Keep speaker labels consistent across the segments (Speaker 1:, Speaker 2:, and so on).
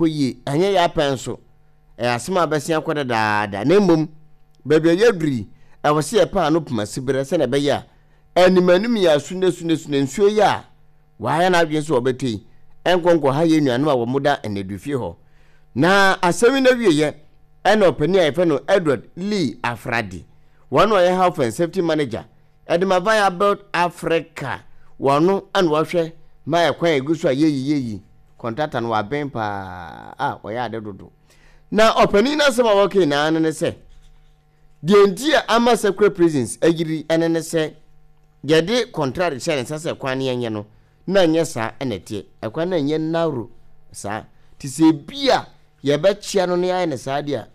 Speaker 1: Kɔ yie, ɛnyɛ yɛn apɛ nso. Ɛyɛ asɛm a abɛsen akɔ dadaada. Na mmom, baabi a yɛaduru yi, ɛwɔ sɛ yɛpɛ ano poma siberɛ sɛdeɛ ɛbɛyɛ a animanim yi asunesunesune nsuo yi a wɔayɛ n'adwene sɛ wɔbɛtɔ yi nkɔ nkɔha yɛn nuanom a wɔda nneduafie hɔ. Na asɛm yi n'awieeɛ ɛna ɔpanin a yɛfrɛ no Edward Lee Afradi, wɔn na ɔyɛ Health and Safety Manager ɛde ma Viabuild Africa, wɔn na wɔhwɛ ma ɛkwan a ɛgu so a yɛyi yɛyi Kɔntrata no waben paa a ɔyɛ ade dodo. Na ɔpanin no asɛm a wɔka nyinaa no ne sɛ, deɛ nti a ama Sekura Prisons ayiri ɛne ne sɛ, yɛde kɔntrate hyɛ ne nsa sɛ kwan no yɛnyɛ no, na nyɛ saa na ɛteɛ. Ɛkwan no nyɛ narrow saa. Nti sɛ ebi a yɛbɛkyea no na yɛayɛ no saa deɛ a,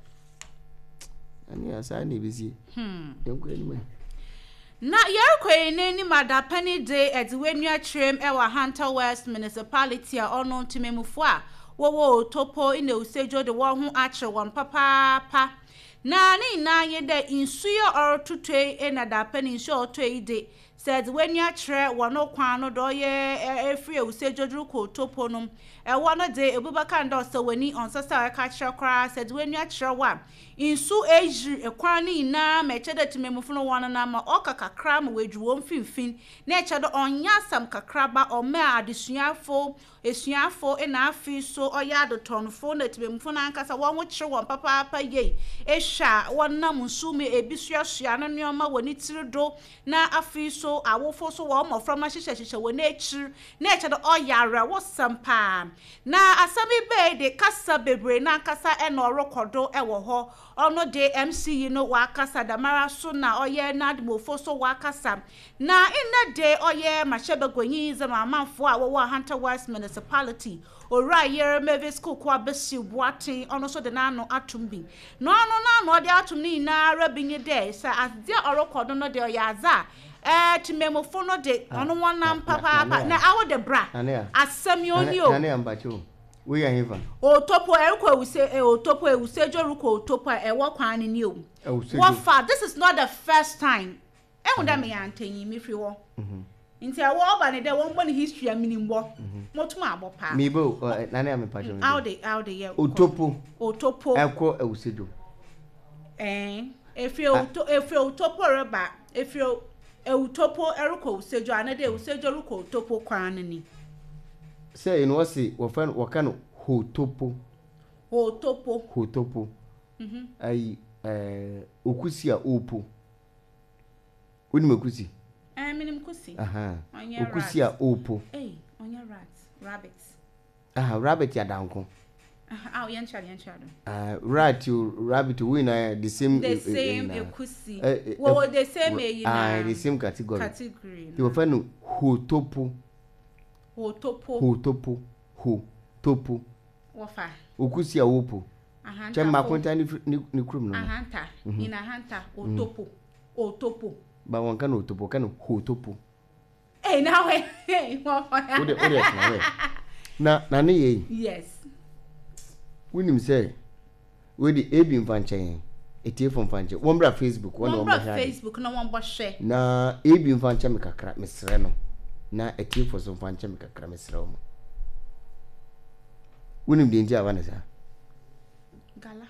Speaker 1: ɛne saa na ɛbɛsie. Hmm. Yɛnkɔ anim ɛ.
Speaker 2: Na yɛrekɔ yi n'anim adapɛn yi de ɛde w'ani akyerɛm ɛwɔ Ahanta West Municipality a ɔno ntemamufo a wɔwɔ Otopo ne Osedjo de wɔn ho akyere wɔn papaapa. Na ne nyinaa nye dɛ nsu yi a ɔrototɔ yi na dapɛn nsu a ɔtɔ yi de Sɛ edze w'enyi akyerɛ hɔn kwan no do ɔyɛ efir ewusiedwodwo rokɔ Otopo no, hɔ no dze, obi bɛka no dɛ ɔsɛ w'enyi, ɔnnsɛ sɛ ɔka kyerɛ koraa. Sɛ edze w'enyi akyerɛ hɔ a, nsu eyir kwan no nyina ma ɛkyerɛ dɛ tsemammufo no wɔnenam ma ɔka kakra ma woeduru hɔn mfinimfin, na ɛkyerɛ dɛ ɔnnyɛ asɛm kakraba, ɔmaa adesuafo, esuafo na afei so ɔyɛ adetɔnfo na tsemammufo no ankasa hɔnho kyer hɔn papaapa yie. Ehwɛ a, wɔnam nsu mu, ebi soasoa no nneɛma wɔ ne tsir do, Na afei so awofo so wɔn mboframba hyehyɛhyehyɛ hɔn ekyir, na ɛkyɛ dɛ ɔyɛ awerɛhosɛm paa. Na asɛm yi bae de, kasa beberee nankasa na ɔrokɔ do wɔ hɔ. Ɔno de, MC yi no ɔakasa, dɛmara so na ɔyɛ NADMOfo so wɔakasa. Na ndɛ de, ɔyɛ mmarahyɛbaguanyi dze ma amanfo a wɔwɔ Ahanta West Municipality. Owura Yer Mavis Kuukua Besiw Boateng, ɔno so de n'ano ato mu bi. Na ɔno n'ano a ɔde ato mu no nyina ara bi nye dɛ, sɛ adze a ɔrokɔ do no de ɔyɛ adze a, ɛɛ, tsemammufo no de, ɔno hɔn nam papaapa. Na awo de bra, asɛm yi onnyi o.
Speaker 1: Nane Ampakye o, wei yɛ hefa?
Speaker 2: Otopo, ɛrokɔ Ewuse, eh, Otopo, Ewusedwo rokɔ Otopo a, ɛwɔ kwan no ni o.
Speaker 1: Ewusedwo.
Speaker 2: Wɔfa, this is not the first time. Ehu dɛ meyɛ antanyi, mefir hɔ. Ntsi ɛwɔ ɔba no dɛ wɔmbɔ no history a minyim bɔ. Motum abɔ paa.
Speaker 1: Meba o, ɔ, Nane a mepa kyɛw meba o.
Speaker 2: Awode, awode yɛ.
Speaker 1: Otopo.
Speaker 2: Otopo.
Speaker 1: Ɛkɔ Ewusedwo.
Speaker 2: Ɛɛn, efir Ewuto, efir Ewutopo reba, efir Ewutopo rokɔ Ewusedwo anaa dɛ Ewusedwo rokɔ Otopo kwan no ni.
Speaker 1: Sɛ eno wɔse wɔfrɛ no wɔka no Hotopo.
Speaker 2: Hotopo.
Speaker 1: Hotopo. Ayi, ɛɛ, Okusi a opo. Wonim Okusi?
Speaker 2: Eh, menim Kusi.
Speaker 1: Aha.
Speaker 2: Ɔnyɛ rat.
Speaker 1: Okusi a opo.
Speaker 2: Ei, ɔnyɛ rat. Rabbit.
Speaker 1: Aha, rabbit yɛ adanko.
Speaker 2: Aha, aw, yɛnkyerɛ do, yɛnkyerɛ do.
Speaker 1: Ah, rat o, rabbit o, wo nyinaa the same.
Speaker 2: The same ekusi. Wɔwɔ the same eyi na.
Speaker 1: Ah, the same category.
Speaker 2: Category.
Speaker 1: Nti wɔfrɛ no hotopo.
Speaker 2: Hotopo.
Speaker 1: Hotopo. Hotopo.
Speaker 2: Wɔfa.
Speaker 1: Okusi a opo.
Speaker 2: Ahantafo.
Speaker 1: Kyɛ mmakonta ne ne kurom no.
Speaker 2: Ahanta, in Ahanta, Otopo. Otopo.
Speaker 1: Ba wɔn ka no Otopo, wɔka no Hotopo.
Speaker 2: Hey, na wɛ, hey, wɔn fɔ ya.
Speaker 1: Wode wode ɛtena wɛ. Na na ne yɛ yi.
Speaker 2: Yes.
Speaker 1: Wonim sɛ wei de ebi nfa nkyɛn yɛn. Etiefo nfa nkyɛn. Wɔn bra Facebook, wɔn na
Speaker 2: Wɔn
Speaker 1: wɔn
Speaker 2: bra
Speaker 1: bɛhwɛ ade.
Speaker 2: Facebook na wɔn bɔ hwɛ.
Speaker 1: Na ebi nfa nkyɛn me kakra, mesrɛ no. Na etiefo so nfa nkyɛn me kakra, mesrɛ wɔn. Wonim deɛ nti a aba ne saa?
Speaker 2: Gala.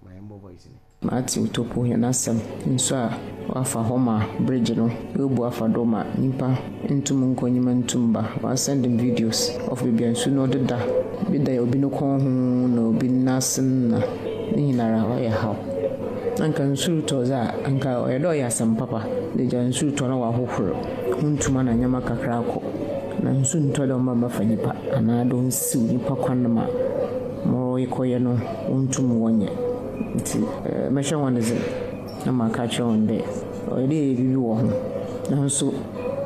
Speaker 1: Ma yɛmmɔ voice no.
Speaker 3: Matthew Topo hɛn asɛm nsu a ɔafa hɔ ma bridge no oebu afa do ma nyimpa nntum nnkɔ nyimpa nntum mmba. Ɔasend me videos of beebi a nsu no ɔdeda, bi da obi no kɔn ho na obi ne nan ase na ne nyinara ɔyɛ haw. Anka nsu rotɔ dze a, anka ɔyɛ dɛ ɔyɛ asɛm papa dɛ gya nsu rotɔ na wɔahohor ho ntuma na ndzɛmba kakra akɔ. Na nsu nntɔ dɛ ɔmba mbɛfa nyimpa anaa dɛ onnsiw nyimpa kwan ma ma wɔrokɔyɛ no wonntum wɔnnyɛ. Ntsi mɛhyɛ hɔn dzen na maaka akyerɛ hɔn dɛ ɔyɛ dɛ yɛyɛ biribi wɔ ho. Naaso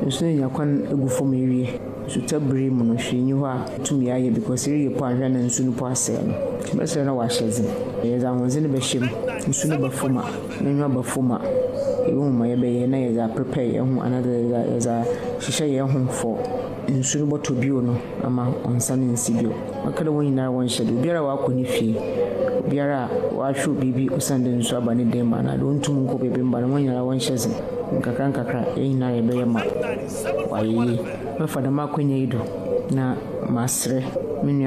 Speaker 3: nsu no enya kwan egu famu ewie. Nsutɔ ber yi mu no hwee nnyi hɔ a itum yɛ because ereyɛ po annhwɛ a na nsu no po asɛɛ no. Ntsi mɛserɛ na wɔahyɛ dzen. Yɛdze ahoɔdzen bɛhyɛ mu, nsu no ba famu a, n'enyiwa ba famu a, yebohu ma yɛbɛyɛ na yɛdze aprepare hɛnho anaadɛ yɛdze ahyehyɛ hɛnho for nsu no bɔtɔ bio no ama ɔnnsan nnsi bio. Ɔka dɛ hɔn nyinara wɔnhyɛ do, obiara a ɔakɔ ne fie, obiara a ɔahwew biribi osiandɛ nsu aba ne dan mu anaadɛ onntum nnkɔ beebi mmba no, hɔn nyinara wɔnhyɛ dzen. Nkakrankakra hɛn nyinara yɛbɛyɛ ma ɔayɛ yie. Mɛfa dɛm akwanya yi do na maserɛ. Me nua.